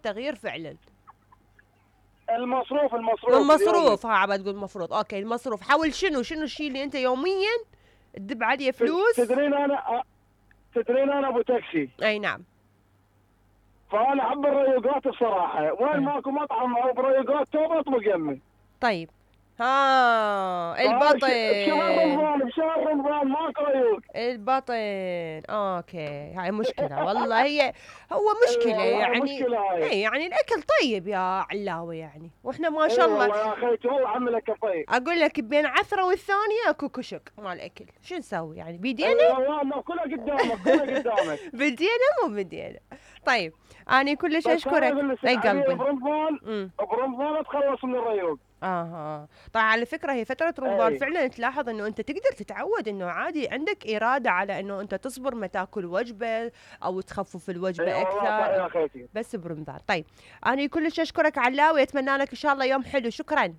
تغيير فعلا. المصروف ها عبد تقول المفروض. اوكي المصروف، حاول شنو الشيء اللي انت يوميا تدب عليه فلوس؟ تدرين انا ابو تاكسي. اي نعم. فانا احب الريوقات الصراحه، وين ماكو مطعم او بريوقات توب اطلق يمي. طيب البطن بشهر رمضان ماكو ريوق. البطن اوكي، هاي مشكلة والله. هو مشكلة يعني. مشكلة هاي. اي يعني الاكل طيب يا علاوي يعني، واحنا ما شاء الله. والله يا اخي والله عملك طيب. اقول لك بين عثرة والثانية اكو كشك مال اكل، شو نسوي يعني بيدينا؟ والله كلها قدامك بدينا مو بدينا. طيب انا كلش اشكرك. اي قلبي. برمضان اتخلص من الريوق. طيب على فكره هي فتره رمضان فعلا تلاحظ انه انت تقدر تتعود انه عادي عندك اراده على انه انت تصبر ما تاكل وجبه او تخفف الوجبه اكثر بس برمضان. طيب انا كلش اشكرك علاوي، اتمنى لك ان شاء الله يوم حلو. شكرا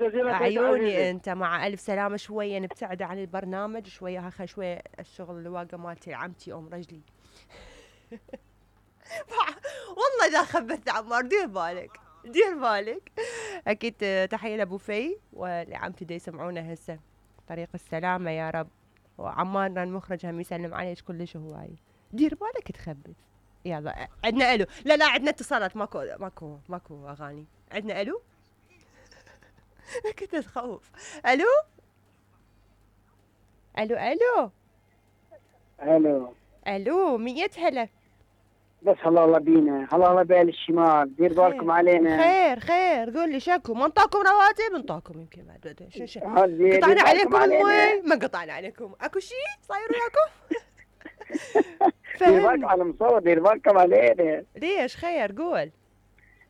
جزيلا عيوني. انت مع الف سلامه. شويه نبتعد عن البرنامج شويه، شويه الشغل الواقع مالتي عمتي ام رجلي. والله اذا خبثت عمار دير بالك. اكيد تحيه لابو في ولعمتي دي يسمعونا هسه. طريق السلامه يا رب. وعمارنا المخرج هم يسلم عليك كلش هواي. دير بالك تخبث. يلا عندنا الو. لا عندنا اتصالات. ماكو اغاني. عندنا الو. كنت تخوف. الو 100 هلا. بس الله بينا، الله بال الشمال، دير بالكم علينا. خير قول لي شكو. ما انطاكم رواتب؟ انطاكم يمكن بعد. شو قطعنا عليكم المي؟ ما قطعنا عليكم. اكو شيء صاير وياكم؟ دير بالكم على المصور، دير بالكم علينا. ليش خير قول.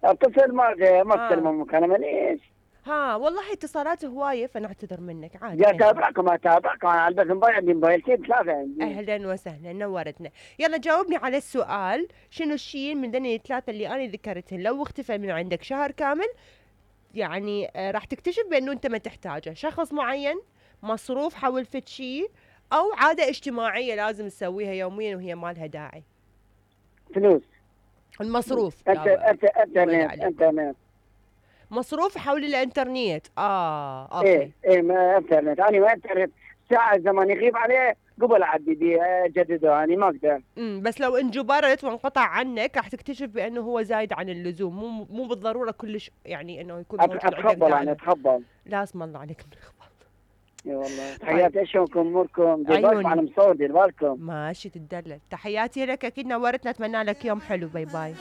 اتصل ما تسلموا مكالمه ليش؟ والله اتصالات هوايه فنعتذر منك عادي. يا اتابعكم انا على بس عندي موبايلتين 3 عندي. اهلا وسهلا نورتنا. يلا جاوبني على السؤال، شنو الشيء من ذني الثلاثه اللي انا ذكرتهن لو اختفى من عندك شهر كامل يعني راح تكتشف بانه انت ما تحتاجه؟ شخص معين، مصروف حول فد شيء، او عاده اجتماعيه لازم تسويها يوميا وهي ما لها داعي. فلوس. المصروف. انترنت. مصروف حول الانترنت. اوكي. ما انترنت. انا ما انترنت ساعه زمان يغيب عليه قبل اعدي اجدده، انا ما اقدر. بس لو انجبرت وانقطع عنك راح تكتشف بانه هو زايد عن اللزوم، مو بالضروره كلش يعني انه يكون موجود. اتخبل لازم الله عليك من الخبل. اي والله. تحياتي اشوفكم اموركم. دير بالكم على مصور، دير بالكم. ماشي تدلل. تحياتي لك اكيد نورتنا. اتمنى لك يوم حلو. باي باي.